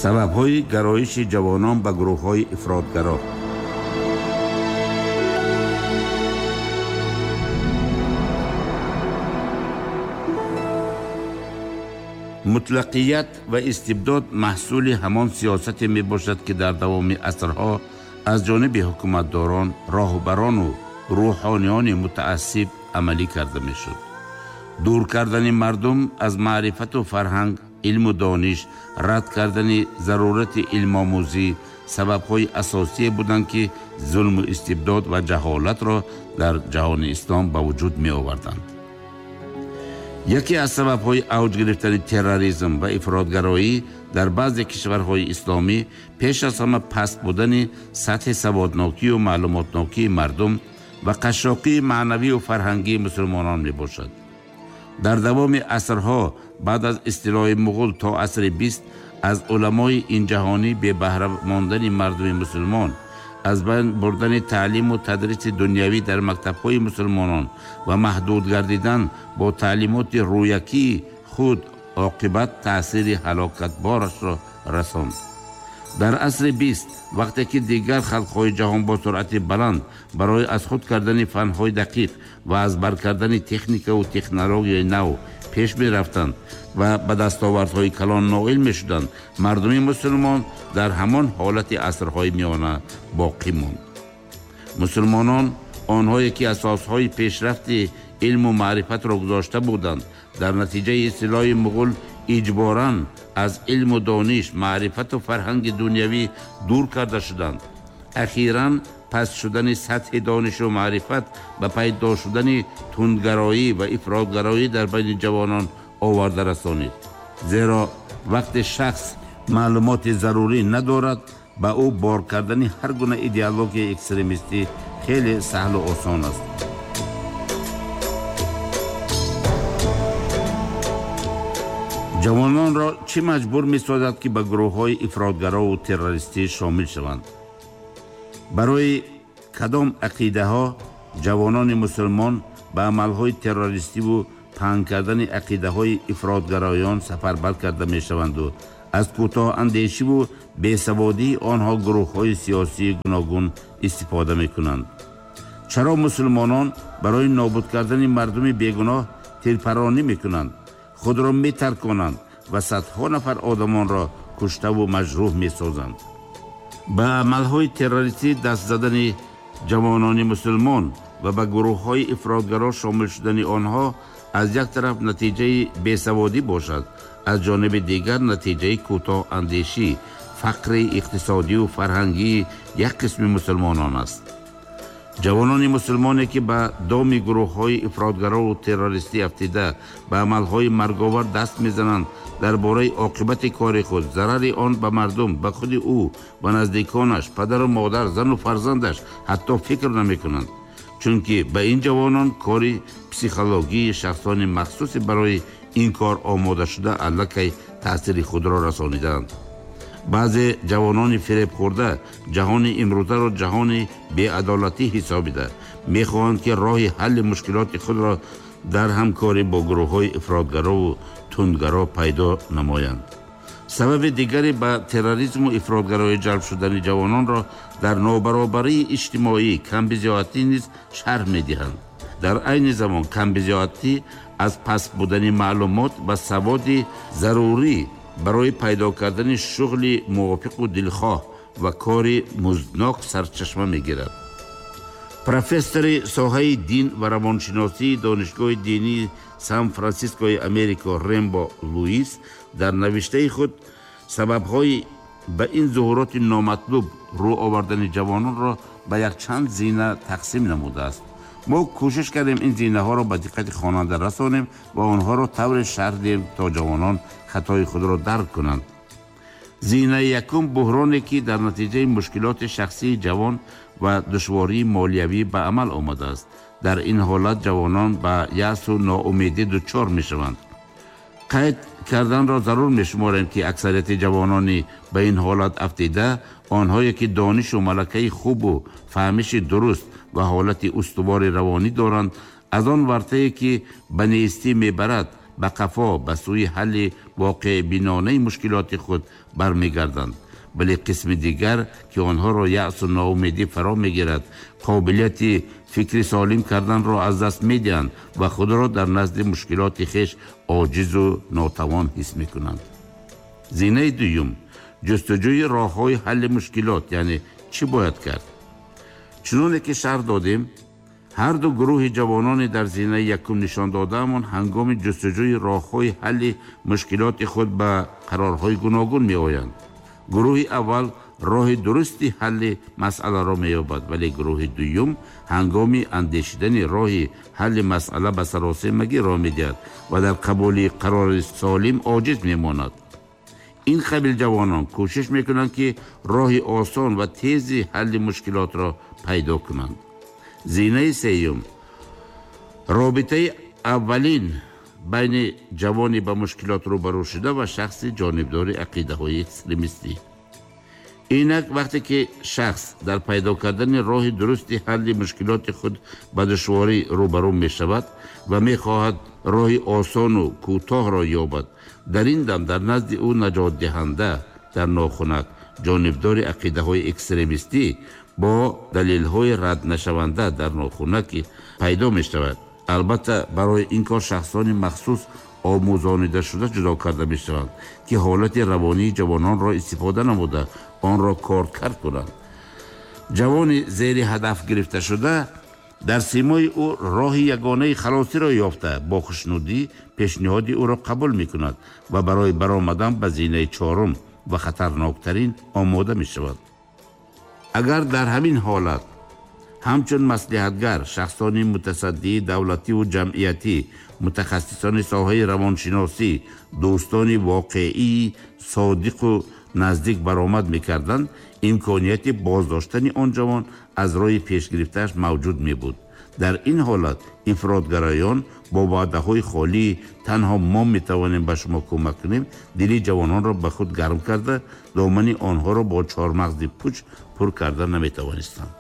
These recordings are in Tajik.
Сабабҳои гароиши ҷавонон ба гурӯҳҳои ифротгаро. Мутлақият ва истибдод маҳсули ҳамон сиёсате мебошад, ки дар давоми асрҳо аз ҷониби ҳукуматдорон, роҳбарону рӯҳониёни мутаассиб амалӣ карда мешуд. Дур кардани мардум аз маърифату фарҳанг, илму дониш, рад кардани зарурати илмомӯзӣ сабабҳои асосие буданд, ки зулму истибдод ва ҷаҳолатро дар ҷаҳони ислом ба вуҷуд меоварданд. Яке аз сабабҳои авҷ гирифтани терроризм ва ифротгароӣ дар баъзе кишварҳои исломӣ пеш аз ҳама паст будани сатҳи саводнокию маълумотнокии мардум ва қашшоқии маънавию фарҳангии мусулмонон мебошад. Дар давоми асрҳо баъд аз истилои муғул то асри 20 аз уламои инҷаҳонӣ бебаҳра мондани мардуми мусулмон, аз байн бурдани таълиму тадриси дунявӣ дар мактабҳои мусулмонон ва маҳдуд гардидан бо таълимоти рӯякии худ оқибат таъсири ҳалокатборашро расонд. Дар асри 20 вақте ки дигар халқҳои ҷаҳон бо суръати баланд барои аз худ кардани фанҳои дақиқ ва аз бар кардани техникаву технологияи нав пеш мерафтанд ва ба дастовардҳои калон ноил мешуданд, мардуми мусулмон дар ҳамон ҳолати асрҳои миёна боқӣ монд. Мусулмонон, онҳое ки асосҳои пешрафти илму маърифатро гузошта буданд, дар натиҷаи истилои муғул иҷборан аз илму дониш, маърифату фарҳанги дунявӣ дур карда шуданд. Ахиран паст шудани сатҳи донишу маърифат ба пайдо шудани тундгароӣ ва ифротгароӣ дар байни ҷавонон оварда расонид. Зеро вақте шахс маълумоти зарурӣ надорад, ба ӯ бор кардани ҳар гуна идеологияи экстремистӣ хеле саҳлу осон аст. Ҷавононро чӣ маҷбур месозад, ки ба гурӯҳҳои ифротгарову террористӣ шомил шаванд? Барои кадом ақидаҳо ҷавонони мусулмон ба амалҳои террористиву паҳн кардани ақидаҳои ифротгароён сафарбар карда мешаванду аз кӯтоҳандешиву бесаводии онҳо гурӯҳҳои сиёсии гуногун истифода мекунанд? Чаро мусулмонон барои нобуд кардани мардуми бегуноҳ тирпаронӣ мекунанд, худро метарконанд ва садҳо нафар одамонро куштаву маҷрӯҳ месозанд? Ба амалҳои террористӣ даст задани ҷавонони мусулмон ва ба гурӯҳҳои ифротгаро шомил шудани онҳо аз як тараф натиҷаи бесаводӣ бошад, аз ҷониби дигар натиҷаи кӯтоҳандешӣ, фақри иқтисодию фарҳангии як қисми мусулмонон аст. Ҷавонони мусулмоне, ки ба доми гурӯҳҳои ифротгарову террористӣ афтида ба амалҳои марговар даст мезананд, дар бораи оқибати кори худ, зарари он ба мардум, ба худи ӯ ва наздиконаш, падару модар, зану фарзандаш ҳатто фикр намекунанд. Чунки ба ин ҷавонон кори психологии шахсони махсусе барои ин кор омодашуда аллакай таъсири худро расонидаанд. Баъзе ҷавонони фиребхӯрда ҷаҳони имрӯзаро ҷаҳони беадолатӣ ҳисобида мехоҳанд, ки роҳи ҳалли мушкилоти худро дар ҳамкорӣ бо гурӯҳҳои ифротгарову тундгаро пайдо намоянд. Сабаби дигаре ба терроризму ифротгароӣ ҷалб шудани ҷавононро дар нобаробарии иҷтимоӣ, камбизоатӣ низ шарҳ медиҳанд. Дар айни замон камбизоатӣ аз паст будани маълумот ва саводи зарурӣ барои пайдо кардани шуғли мувофиқу дилхоҳ ва кори музднок сарчашма мегирад. Профессори соҳаи дин ва равоншиносии Донишгоҳи динии Сан-Франсискои Америко Рембо Луис дар навиштаи худ сабабҳои ба ин зуҳуроти номатлуб рӯ овардани ҷавононро ба якчанд зина тақсим намудааст. Мо кӯшиш кардем ин зинаҳоро ба диққати хонанда расонем ва онҳоро тавре шарҳ диҳем, то ҷавонон хатои худро дарк кунанд. Зинаи якум буҳроне, ки дар натиҷаи мушкилоти шахсии ҷавон ва душвории молиявӣ ба амал омадааст. Дар ин ҳолат ҷавонон ба яъсу ноумедӣ дучор мешаванд. Қайд карданро зарур мешуморем, ки аксарияти ҷавонони ба ин ҳолат афтида онҳое ки донишу малакаи хубу фаҳмиши дуруст ва ҳолати устувори равонӣ доранд, аз он вартае ки ба нестӣ мебарад, ба қафо ба сӯи ҳалли воқеъбинонаи мушкилоти худ бармегарданд, вале қисми дигар, ки онҳоро яъсу ноумедӣ фаро мегирад, қобилияти фикри солим карданро аз даст медиҳанд ва худро дар назди мушкилоти хеш оҷизу нотавон ҳис мекунанд. Зинаи дуюм: ҷустуҷӯи роҳҳои ҳалли мушкилот, яъне чӣ бояд кард? Чуноне ки шарҳ додем, ҳар ду гурӯҳи ҷавонони дар зинаи якум нишон додаамон ҳангоми ҷустуҷӯи роҳҳои ҳалли мушкилоти худ ба қарорҳои гуногун меоянд. Гурӯҳи аввал роҳи дурусти ҳалли масъаларо меёбад, вале гурӯҳи дуюм ҳангоми андешидани роҳи ҳалли масъала ба саросемагӣ роҳ медиҳад ва дар қабули қарори солим оҷиз мемонад. Ин қабил ҷавонон кӯшиш мекунанд, ки роҳи осон ва тези ҳалли мушкилотро пайдо кунанд. Зинаи сеюм: робитаи аввалин байни ҷавони ба мушкилот рӯбарӯ шуда ва шахси ҷонибдори ақидаҳои экстремистӣ. Инак, вақте ки шахс дар пайдо кардани роҳи дурусти ҳалли мушкилоти худ ба душворӣ рӯбарӯ мешавад ва мехоҳад роҳи осону кӯтоҳро ёбад, дар ин дам дар назди ӯ наҷотдиҳанда дар нохунак ҷонибдори ақидаҳои экстремистӣ бо далелҳои раднашаванда дар нохунаки пайдо мешавад. Албатта, барои ин кор шахсони махсус омӯзонидашуда ҷудо карда мешаванд, ки ҳолати равонии ҷавононро истифода намуда онро коркард кунанд. Ҷавони зери ҳадаф гирифташуда дар симои ӯ роҳи ягонаи халосиро ёфта, бо хушнудӣ пешниҳоди ӯро қабул мекунад ва барои баромадан ба зинаи чорум ва хатарноктарин омода мешавад. Агар дар ҳамин ҳолат ҳамчун маслиҳатгар шахсони мутасаддии давлативу ҷамъиятӣ, мутахассисони соҳаи равоншиносӣ, дӯстони воқеии содиқу наздик баромад мекарданд, имконияти боздоштани он ҷавон аз роҳи пешгирифтааш мавҷуд мебуд. Дар ин ҳолат ифротгароён бо ваъдаҳои холии «танҳо мо метавонем ба шумо кӯмак кунем» дили ҷавононро ба худ гарм карда, домани онҳоро бо чормағзи пуч пур карда наметавонистанд.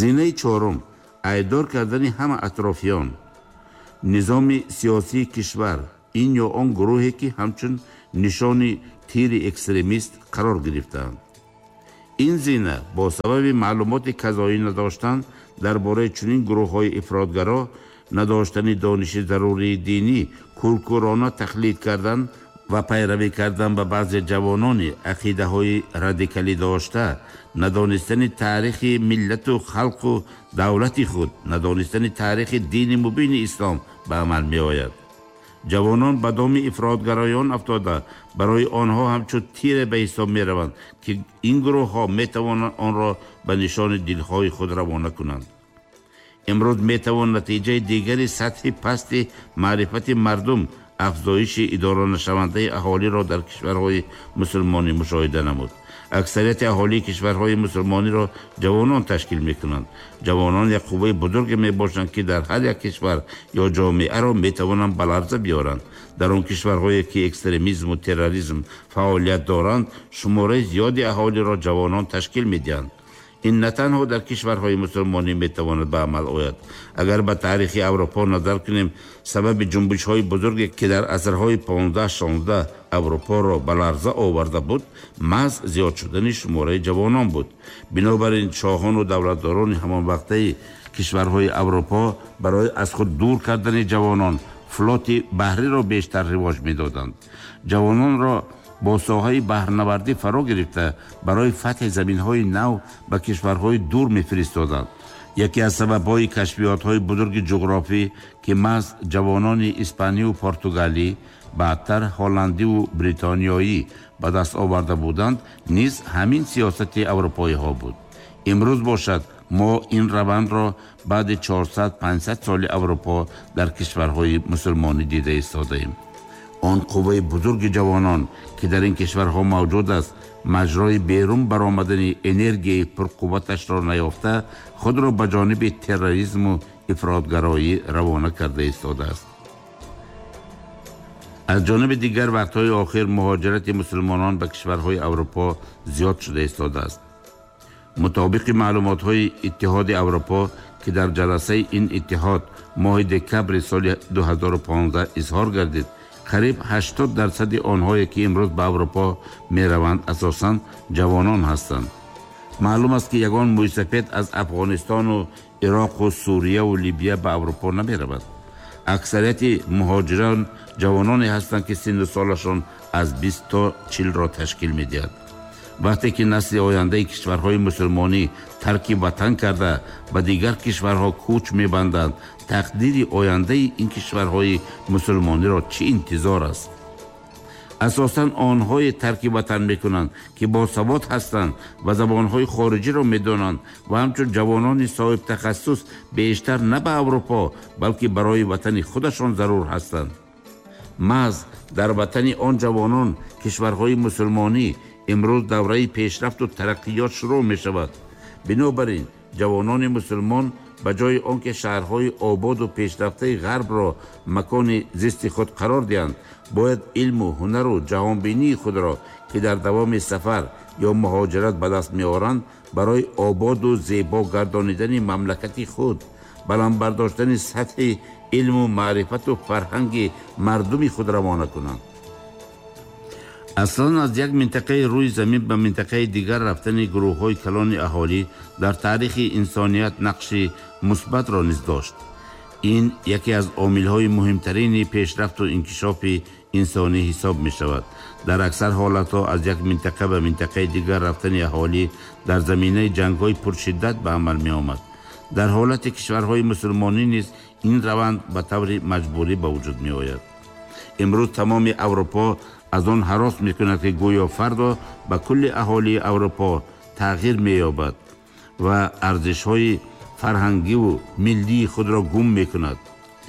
Зинаи чорум: айбдор кардани ҳама атрофиён, низоми сиёсии кишвар, ин ё он гурӯҳе, ки ҳамчун нишони тири экстремист қарор гирифтаанд. Ин зина бо сабаби маълумоти казоӣ надоштан дар бораи чунин гурӯҳҳои ифротгаро, надоштани дониши зарурии динӣ, кӯркӯрона тақлид кардан ва пайравӣ кардан ба баъзе ҷавонони ақидаҳои радикалӣ дошта, надонистани таърихи миллату халқу давлати худ, надонистани таърихи дини мубини ислом ба амал меояд. Ҷавонон ба доми ифротгароён афтода, барои онҳо ҳамчун тире ба ҳисоб мераванд, ки ин гурӯҳҳо метавонанд онро ба нишони дилҳои худ равона кунанд. Имрӯз метавон натиҷаи дигари сатҳи пасти маърифати мардум, афзоиши идоранашавандаи аҳолиро дар кишварҳои мусулмонӣ мушоҳида намуд. Аксарияти аҳолии кишварҳои мусулмониро ҷавонон ташкил мекунанд. Ҷавонон як қувваи бузурге мебошанд, ки дар ҳар як кишвар ё ҷомеаро метавонанд ба ларза биёранд. Дар он кишварҳое, ки экстремизму терроризм фаъолият доранд, шумораи зиёди аҳолиро ҷавонон ташкил медиҳанд. Ин на танҳо дар кишварҳои мусулмонӣ метавонад ба амал ояд. Агар ба таърихи Аврупо назар кунем, сабаби ҷунбишҳои бузурге, ки дар асрҳои 15-16 Аврупоро ба ларза оварда буд, маҳз зиёд шудани шумораи ҷавонон буд. Бинобар ин шоҳону давлатдорони ҳамонвақтаи кишварҳои Аврупо барои аз худ дур кардани ҷавонон флоти баҳриро бештар ривоҷ медоданд. Ҷавононро бо соҳаи баҳрнавардӣ фаро гирифта, барои фатҳи заминҳои нав ба кишварҳои дур мефиристоданд. Яке аз сабабҳои кашфиётҳои бузурги ҷуғрофӣ, ки маҳз ҷавонони испаниву португалӣ, баъдтар ҳолландиву бритониёӣ ба даст оварда буданд, низ ҳамин сиёсати аврупоиҳо буд. Имрӯз бошад, мо ин равандро баъди 400-500 соли Аврупо дар кишварҳои мусулмонӣ дида истодаем. Он қувваи бузурги ҷавонон, ки дар ин кишварҳо мавҷуд аст, маҷрои берун баромадани энергияи пурқувваташро наёфта, худро ба ҷониби терроризму ифротгароӣ равона карда истодааст. Аз ҷониби дигар, вақтҳои охир муҳоҷирати мусулмонон ба кишварҳои Аврупо зиёд шуда истодааст. Мутобиқи маълумотҳои Иттиҳоди Аврупо, ки дар ҷаласаи ин иттиҳод моҳи декабри соли 2015 изҳор гардид, Қариб 80% онҳое, ки имрӯз ба Аврупо мераванд, асосан ҷавонон ҳастанд. Маълум аст, ки ягон мӯйсафед аз Афғонистону Ироқу Сурияву Либия ба Аврупо намеравад. Аксарияти муҳоҷирон ҷавононе ҳастанд, ки синну солашон аз 20 то 40-ро ташкил медиҳад. Вақте ки насли ояндаи кишварҳои мусулмонӣ тарки ватан карда, ба дигар кишварҳо кӯч мебанданд, тақдири ояндаи ин кишварҳои мусулмониро чӣ интизор аст? Асосан онҳое тарки ватан мекунанд, ки босавод ҳастанд ва забонҳои хориҷиро медонанд ва ҳамчун ҷавонони соҳибтахассус бештар на ба Аврупо, балки барои ватани худашон зарур ҳастанд. Маҳз дар ватани он ҷавонон, кишварҳои мусулмонӣ, имрӯз давраи пешрафту тараққиёт шурӯъ мешавад. Бинобар ин ҷавонони мусулмон ба ҷои он ки шаҳрҳои ободу пешрафтаи ғарбро макони зисти худ қарор диҳанд, бояд илму ҳунару ҷаҳонбинии худро, ки дар давоми сафар ё муҳоҷират ба даст меоранд, барои ободу зебо гардонидани мамлакати худ, баланд бардоштани сатҳи илму маърифату фарҳанги мардуми худ равона кунанд. Аслан аз як минтақаи рӯи замин ба минтақаи дигар рафтани гурӯҳҳои калони аҳолӣ дар таърихи инсоният нақши мусбатро низ дошт. Ин яке аз омилҳои муҳимтарини пешрафту инкишофи инсонӣ ҳисоб мешавад. Дар аксар ҳолатҳо аз як минтақа ба минтақаи дигар рафтани аҳолӣ дар заминаи ҷангҳои пуршиддат ба амал меомад. Дар ҳолати кишварҳои мусулмонӣ низ ин раванд ба таври маҷбурӣ ба вуҷуд меояд. Имрӯз тамоми Аврупо аз он ҳарос мекунад, ки гӯё фардо ба кулли аҳолии Аврупо тағйир меёбад ва арзишҳои фарҳангиву миллии худро гум мекунад.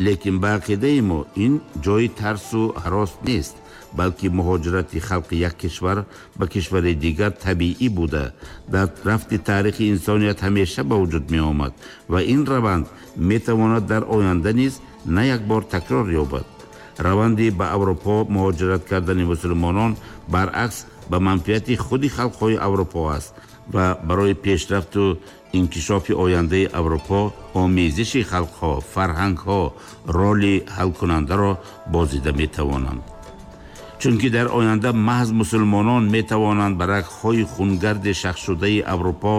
Лекин ба ақидаи мо ин ҷои тарсу ҳарос нест, балки муҳоҷирати халқи як кишвар ба кишвари дигар табиӣ буда, дар рафти таърихи инсоният ҳамеша ба вуҷуд меомад ва ин раванд метавонад дар оянда низ на як бор такрор ёбад. Раванди ба Аврупо муҳоҷират кардани мусулмонон баръакс ба манфиати худи халқҳои Аврупо аст ва барои пешрафту инкишофи ояндаи Аврупо омезиши халқҳо, фарҳангҳо роли ҳалкунандаро бозида метавонанд. Чунки дар оянда маҳз мусулмонон метавонанд ба рагҳои хунгарди шахсшудаи Аврупо